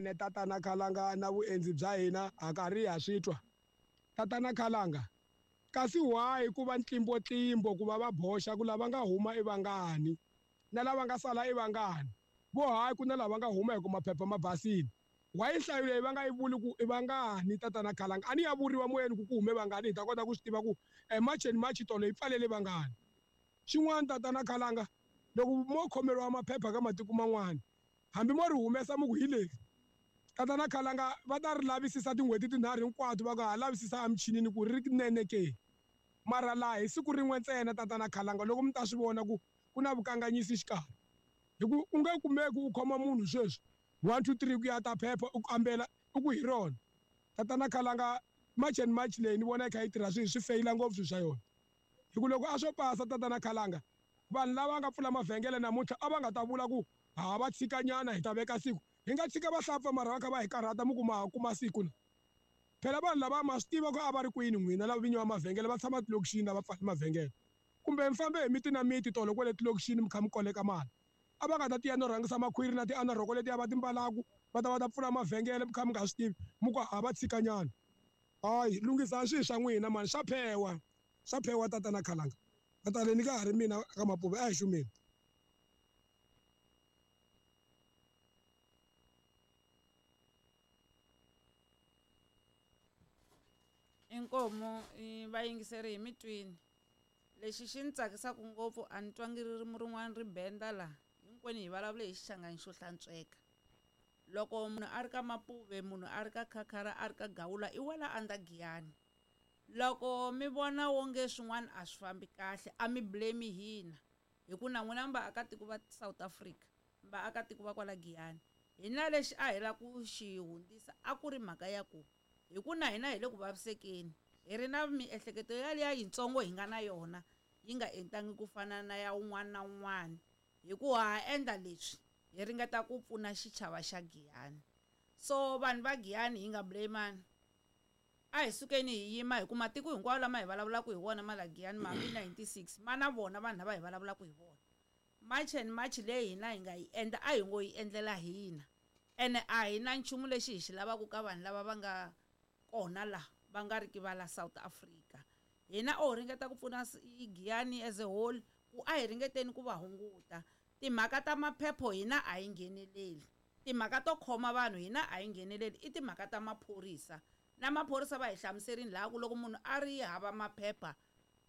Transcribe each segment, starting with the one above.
Ene tatana Khalanga na vuendzi bya hina ha karhi ha swi twa. Tatana Khalanga, kasi why ku va ntlimbotlimbo ku va va boxa ku lava nga huma i vangani na lava nga sala i vangani? Vo hayi ku na lava nga huma hi ku maphepha ma basile. Why nhlayo leyi va nga yi vuli ku i vangani tatana Khalanga? A ni ya vuriwa moyeni ku ku hume vangani hi ta kota ku swi tiva ku e March and March tolo yi pfalele vangani. Xin'wana tatana Khalanga, loko mo khomeriwa maphepha ka matiko man'wana hambi mo ri humesa mi ku hi leri, tatana Khalanga va ta ri lavisisa tin'hweti tinharhu hinkwato va ku ha lavisisa emichinini ku ri rinene ke. Mara laha hi siku rin'we ntsena tatana Khalanga loko mi ta swi vona ku ku na vukanganyisi xikarhi. Hi ku u nge kumeki u khoma munhu sweswi 1 2 3 ku ya ta phepha u kambela u ku hi rona. Tatana Khalanga March and March leyi ni vona yi kha yi tirha swi swi feyila ngopfu swilo swa yona. Hi ku loko a swo pasa tatana Khalanga vanhu lava nga pfula mavhengele namuntlha a va nga ta vula ku ha va tshikanyana hi ta veka siku. Hi nga tshika vahlapfa mara va kha va hi karhata mi ku ma ha kuma siku na. Phela vanhu lava ma swi tiva ku a va ri kwini n'wina lava vinyi va mavhengele va tshama tilokixini a va pfali mavhengele. Kumbe mi fambe hi miti na miti tolo kwale tilokixini mi kha mi koleka mali. A va nga ta tiya no rhangisa makhwiri na tianarhoko letiya va ti mbalaku va ta va ta pfula mavhengele mi kha mi nga swi tivi mi ku ha va tshikanyana. Hayi lunghisani swilo swa n'wina mani swa phewa swa phewa tatana Khalanga. Tatana ni ka ha ri mina ka Mapuve a hi xumeni. Inkomu vayingiseri hi mi twini. Lexi xi ni tsakisaka ngopfu a ni twangi ririmi rin'wana ri benda la. Hinkwenu hi vulavule hi Xichangani xo hlantsweka. Loko munhu a ri ka Mapuve, munhu a ri ka Khakhara, a ri ka Gawula i wela under Giyani. Loko mi vona wonge swin'wana a swi fambi kahle a mi blame hina hi ku na n'wina mi vaakatiko va South Africa, mi vaakatiko va kwala Giyani. Hina lexi a hi lava ku xi hundzisa a ku ri mhaka ya ku hi ku na hina hi le ku vavisekeni hi ri na miehleketo yaliya yitsongo hi nga na yona yi nga entangi ku fana na ya un'wana na un'wana hi ku ha endla leswi hi ringeta ku pfuna xichava xa Giyani. So vanhu va Giyani hi nga blame-ani. A hi sukeni hi yima hi ku matiko hinkwawo lama hi vulavulaka hi wona ma la Giyani ma hambi 96 ma na vona vanhu lava hi vulavulaka hi vona. March and March leyi hina hi nga yi endla a hi ngo yi endlela hina. Ene a hi na nchumu lexi hi xi lavaka ka vanhu lava va nga kona la va nga ri ki va la South Africa. Hina o ringeta ku pfuna Giyani as a whole ku a hi ringeteni ku va hunguta. Timhaka ta maphepho hina a hi ngheneleli. Timhaka to khoma vanhu hina a hi ngheneleli i timhaka ta maphorisa. Na maphorisa va hi hlamuserini laha ku loko munhu a ri hava maphepha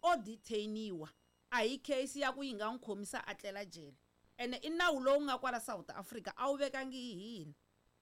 o detainiwa a hi case ya ku yi nga n'wi khomisa a tlela jele. Ene i nawu lowu nga kwala South Africa a wu vekangi hi hina.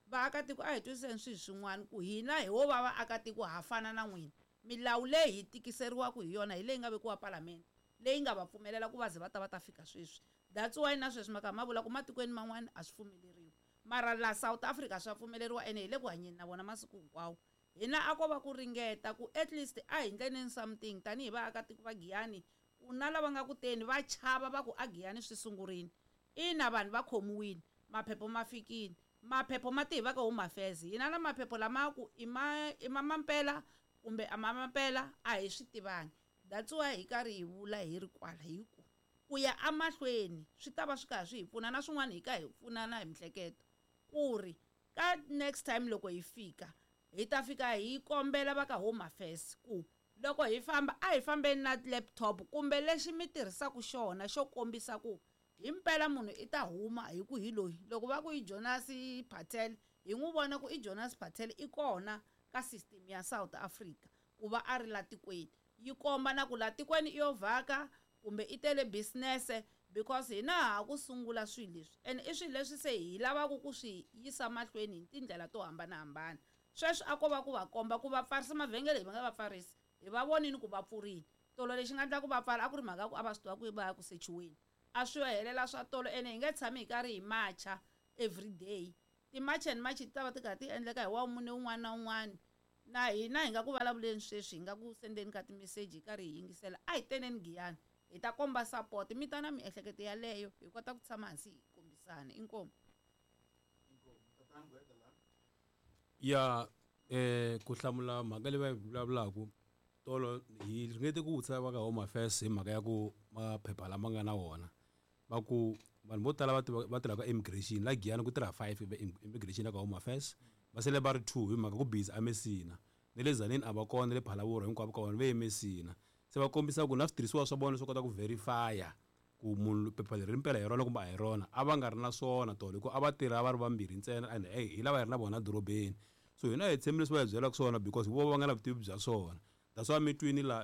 Vaakatiko a hi twisiseni swilo swin'wana ku hina hi wo va vaakatiko ha fana na n'wina. Milawu leyi hi tikiseriwaka hi yona hi leyi nga vekiwa palamende leyi nga va pfumelela ku va ze va ta va ta fika sweswi. That's why na sweswi maka ma vula ku matikweni man'wana a swi pfumeleriwi. Mara la South Africa swa pfumeleriwa ene hi le ku hanyeni na vona masiku hinkwawo. Hina a ko va ku ringeta ku at least a hi ndleni something tanihi vaakatiko va Giyani ku na lava nga ku teni va chava va ku a Giyani swi sungurile. Ina vanhu va khomiwile, maphepho ma fikile. Maphepho ma tihi va ka Home Affairs. Hina na maphepho lama ku i ma i ma mampela kumbe a ma mampela a hi swi tivangi. That's why hi karhi hi vula hi ri kwala hi ku ku ya emahlweni swi ta va swi karhi swi hi pfuna na swin'wana hi ka hi pfunana hi mihleketo ku ri ka next time loko hi fika hi ta fika hi kombela va ka Home Affairs ku loko hi famba a hi fambeni na laptop kumbe lexi mi tirhisaka xona xo kombisa ku himpela munhu i ta huma hi ku hi loyi. Loko va ku i Jonas Patel hi n'wi vona ku i Jonas Patel i kona ka system ya South Africa ku va a ri la tikweni. Yi komba na ku la tikweni i yo vhaka kumbe i tele business because hina ha ku sungula swilo leswi ene i swilo leswi se hi lavaka ku swi yisa mahlweni hi tindlela to hambanahambana. Sweswi a ko va ku va komba ku va pfarisa mavhengele hi va nga va pfarisi hi va vonini ku va pfurile. Tolo lexi nga endla ku va pfala a ku ri mhaka ku a va swi tiva ku va ya ku sechiweni. A swi yo helela swa tolo ene hi nge tshami hi karhi hi macha every day. Ti-march and march ti ta va ti karhi ti endleka hi wavumune wun'wana na wun'wana. Na hina hi nga ku vulavuleni sweswi hi nga ku sendeni ka timeseji hi karhi hi yingisela a hi teneni Giyani hi ta komba support mi ta na miehleketo yaleyo hi kota ku tshama hansi hi kombisana. Inkomu. Ya ku hlamula mhaka leyi va yi vulavulaka tolo hi ringete ku vutisa va ka Home Affairs hi mhaka ya ku maphepha lama nga na wona va ku Vanhu vo tala va tirhaka immigration la Giyani ku tirha 5 immigration ka Home Affairs. Va sele va ri 2 hi mhaka ku busy a Messina. Ne le Tzaneen a va kona, le Phalaborwa hinkwavo ka vona va ye Messina. Se va kombisa ku na switirhisiwa swa vona swo kota ku verify ku munhu phepha leri mpela hi rona kumbe a hi rona, a va nga ri na swona tolo hikuva a va tirha va ri vambirhi ntsena and hey, hi lava hi ri na vona dorobeni. So hina hi tshembi leswi va hi byelaka swona because vo va nga na vutivi bya swona. That's why mi twini la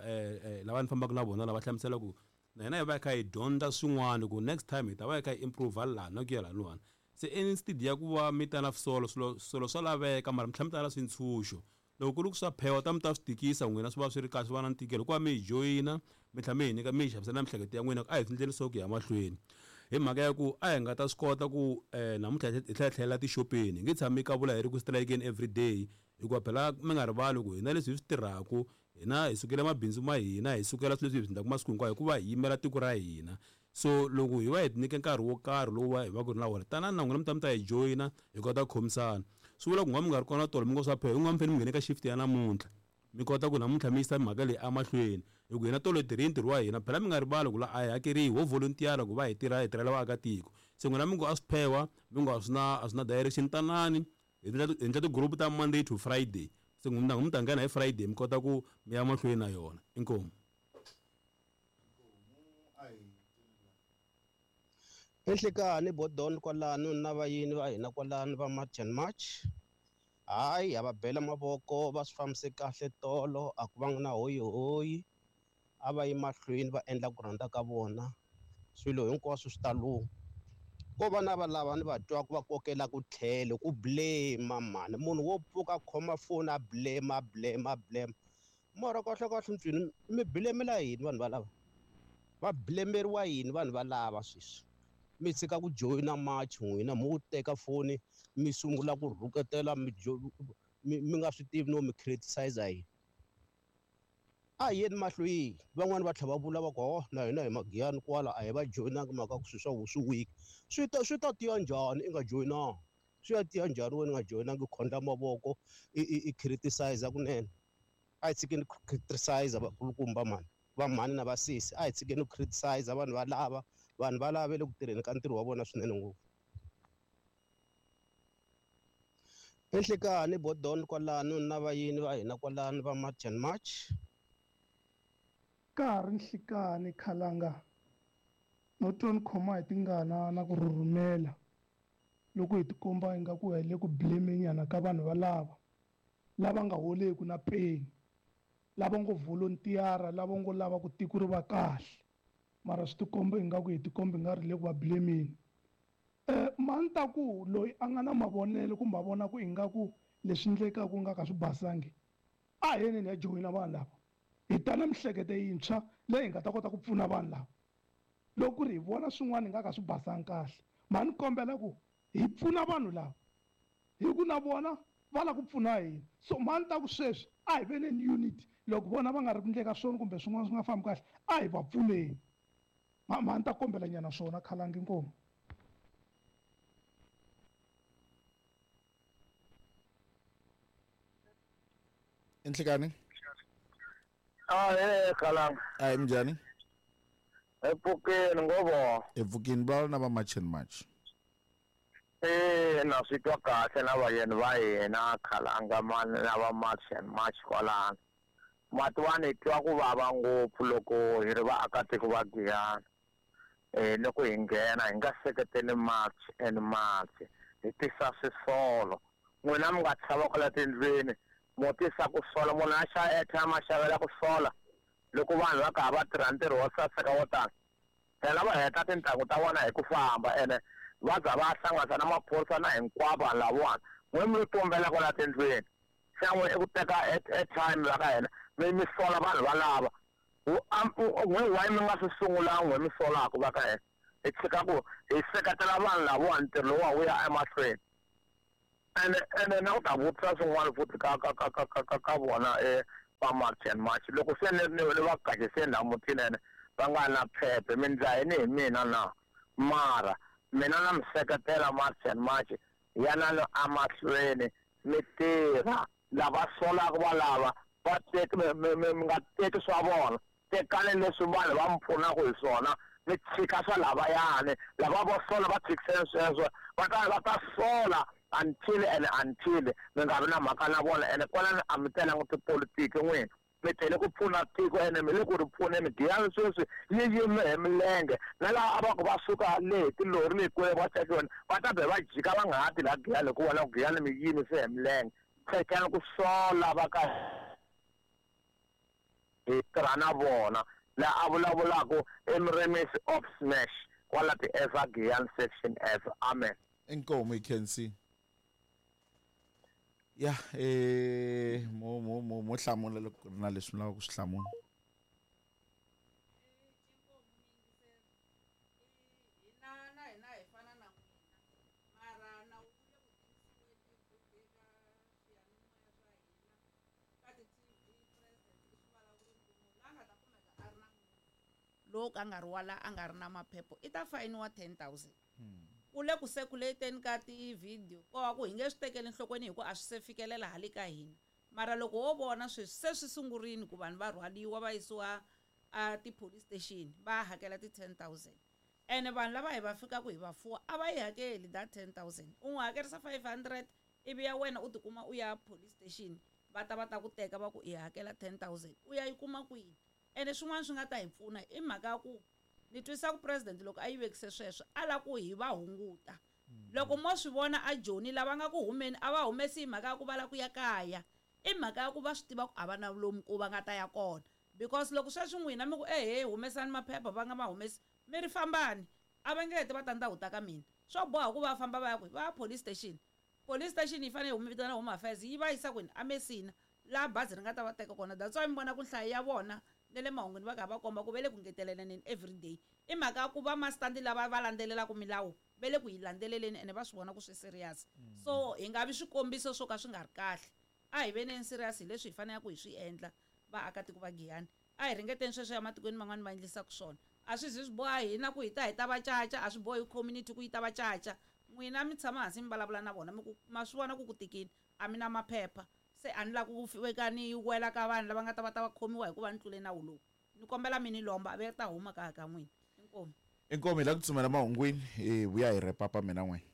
lava ni fambaka na vona lava hlamusela ku na hina hi va hi kha hi dyondza swin'wana ku next time hi ta va hi kha hi improve laha na ku ya lahawani. Se instead ya ku va mi ta na swisolo, swilo swa laveka mara mi tlhela mi ta na swintshunxo. Loko ku ri ku swa phewa ta mi ta swi tikisa n'wina swi va swi ri kahle swi va na ntikelo hikuva mi hi joyina mi tlhela mi hi nyika mi hi xavisela miehleketo ya n'wina ku a hi swi ndleni swa ku ya mahlweni. Hi mhaka ya ku a hi nga ta swi kota ku namuntlha hi tlhela hi tlhelela tixopeni, hi nge tshami ka vula hi ri ku strike-eni everyday hikuva phela mi nga rivali ku hina leswi hi swi tirhaka hina hi sukela mabindzu ma hina, hi sukela swilo leswi hi swi endlaka masiku hinkwawo hikuva hi yimela tiko ra hina. So loko hi va hi nyike nkarhi wo karhi lowu hi va ku ri na wona, tanani na n'wina mi ta mi ta hi joyina hi kota ku khomisana. Swi vula ku nga mi nga ri kona tolo mi ngo swa phela, mi nga mi fanele mi nghene ka shift ya namuntlha mi kota ku namuntlha mi yisa mhaka leyi emahlweni hi ku hina tolo hi tirhile ntirho wa hina. Phela mi nga rivali ku la a hi hakeriwi, ho volunteer ku va hi tirha hi tirhela vaakatiko. Se n'wina mi ngo a swi phewa, mi ngo a swi na direction, tanani hi endla ti-group ta Monday to Friday. Se n'wina mi ta nghena hi Friday mi kota ku mi ya mahlweni na yona. Inkomu. Enhlekani Bodon kwalano na vayini va hina kwalano va March and March. Hayi, ha va bela mavoko, va swi fambise kahle tolo, a ku vanga na hoyihoyi. A va yi mahlweni va endla ku rhandza ka vona. Swilo hinkwaswo swi ta lungha. Ko va na va lava ni va twaka va kokela ku tlhelo, ku blame mhani. Munhu wo pfuka a khoma foni a blame, a blame, a blame. Mara kahle kahle ntswini mi blemela yini vanhu valava? Va blemeriwa yini vanhu valava sweswi? Mi tshika ku joyina march n'wina, mo teka foni mi sungula ku rhuketela, mi nga swi tivi no mi criticize yini. A hi yeni mahlweni. Van'wani va tlhela va vula va ku, oh, na hina hi Magiyani kwala a hi va joyinangi mhaka ku swilo swa vo swi weak. Swi ta tiya njhani i nga joyinangi? Swi ya tiya njhani wena u nga joyinangi, u khondla mavoko i criticize kunene? A hi tshikeni ku criticize vakulukumba mhani, va mhani na vasesi. A hi tshikeni ku criticize vanhu valava, vanhu valava va le ku tirheni ka ntirho wa vona swinene ngopfu. Enhlekani Bodon kwalano na vayini va hina kwalano va March and March. Ka ha ri nhlikani khalanga no twa ni khoma hi tingana na ku rhurhumela loko hi tikomba ingaku hi le ku blame nyana ka vanhu valava lava nga holeki na peni, lava ngo volunteer, lava ngo lava ku tiko ri va kahle, mara swi tikomba ingaku hi tikomba nga ri le ku va blameni. Mani ta ku loyi a nga na mavonelo kumbe a vona ku ingaku leswi endlekaka nga ka swi basangi, a hi yeneni ya joyina vanhu lava, hi ta na miehleketo yintshwa leyi hi nga ta kota ku pfuna vanhu lava. Loko ku ri hi vona swin'wana hi nga ka swi basangi kahle, mani kombela ku hi pfuna vanhu lava, hi ku na vona va lava ku pfuna hina. So mani ta ku sweswi a hi veneni unity, loko vona va nga ri ku endleka swona kumbe swin'wana swi nga fambi kahle, a hi va pfuneni. Mani ta kombela nyana swona khalangi inkomu. Enhlekani? Khalanga. Hayi, minjhani? Epfukeni ngovo. Epfukeni va na va March and March. Na swi twa kahle na vayeni va hina khalanga mani na va March and March kwalano. Matiwani hi twa ku vava ngopfu loko hi ri vaakatiko va Giyani. Loko hi nghena hi nga seketeli March and March, hi tisa swisolo. N'wina mi nga tshama kwala tindlwini mo tisa ku sola, munhu a xava airtime a xavela ku sola loko vanhu va karhi va tirha ntirho wo saseka wo tala. Phela va heta tintangu ta vona hi ku famba ene va za va hlanganisa na maphorisa na hinkwavo vanhu lavawani. N'we mi lo tumbela kwala tindlwini, xa n'we i ku teka airtime va ka hina mi sola vanhu valava. N'we why mi nga swi sungulanga n'we mi solaka va ka hina? Hi tshika ku hi seketela vanhu lavawani ntirho lowuwa wu ya emahlweni. Ene na ku ta vutisa swin'wana futhi ka vona va March and March. Loko se ni va gajiseni laha mutini ene va nga na phephe, mi ndla yini hi mina na? Mara mina na mi seketela March and March, yanani emahlweni mi tirha. Lava solaka valava va teki, mi nga teki swa vona, tekani leswi vanhu va mi pfunaka hi swona, Mi tshika swa lavayani, lava vo sola va tshikiseni sweswo, va ta va ta sola until and until mi nga vi na mhaka na vona. Ene kwalano a mi telangi tipolitiki n'wina, mi tele ku pfuna tiko ene mi le ku ri pfuneni. Giyani sweswi yi yime hi milenge, na laha a va ku va suka le hi tilori leyi kule va tekiwena va ta be va jika va nga ha ti laha Giyani, hikuva la ku Giyani mi yimise hi milenge. Tshekani ku sola va ka hi tirha na vona. Laha a vulavulaka i Muremisi of Smash kwala ti-F Giyani section F. Amen. Inkomu hi Kensi. Ya, mo mo mo mo hlamula loko ku ri na leswi mi lavaka ku swi hlamula. Hina na hina hi fana na n'wina, mara nawu wu le ku tivisiweni everyday ka swiyanimoya swa hina, ka ti-TV. President i swi vulavurile ku munhu loyi a nga ta kumeka a ri na munhu lowo ka nga ri wala a nga ri na maphepha i ta fayiniwa 10 000. Ku le ku circulate-eni ka ti-video, ko va ku hi nge swi tekeli enhlokweni hi ku a swi se fikelela hale ka hina, mara loko wo vona sweswi se swi sungurile ku vanhu va rhwaliwa va yisiwa a ti-police station va hakela ti-10 000, ene vanhu lava hi va fikaka hi va fuwa a va yi hakeli that 10 000. U n'wi hakerisa 500 ivi ya wena u tikuma u ya police station, va ta va ta ku teka va ku i hakela 10 000, u ya yi kuma kwini? Ene swin'wana swi nga ta hi pfuna i mhaka ya ku ni twisisa ku president loko a yi vekise sweswo a lava ku hi va hunguta. Loko mo swi vona a Joni lava nga ku humeni a va humesi hi mhaka ya ku va lava ku ya kaya, i mhaka ya ku va swi tiva ku a va na lomu ku va nga ta ya kona, because loko sweswi n'wina mi ku ehe humesani maphepha, va nga ma humesi, mi ri fambani, a va nge heti va ta ndhawu ta ka mina. Swo boha ku va famba va ya kwihi? Va ya police station. Police station yi fanele yi vitana Home Affairs, yi va yisa kwini? A Messina, laha bazi ri nga ta va teka kona. That's why mi vona ku nhlayo ya vona na le mahungwini va karhi va komba ku va le ku ngeteleleni everyday, i mhaka ya ku va mastandi lava va landzelelaka milawu va le ku yi landzeleleni, ene va swi vona ku swi serious. So hi nga vi swikombiso swo ka swi nga ri kahle. A hi veneni serious hi leswi hi faneleke hi swi endla. Vaakatiko va Giyani, a hi ringeteni sweswo ya matikweni man'wani va endlisaka swona. A swi zi swi boha hina ku hi ta hi ta va caca, a swi bohi community ku yi ta va caca. N'wina mi tshama hansi mi vulavula na vona, mi ku ma swi vona ku ku tikini, a mi na maphepha, se a ni lavi ku veka ni wela ka vanhu lava nga ta va ta va khomiwa hikuva ni tlule nawu lowu, ni kombela mi ni lomba, a ve ta huma kaya ka n'wina. Inkomu. Inkomu. Hi la ku tsumela mahungwini, hi vuya hi repapa mina n'wina.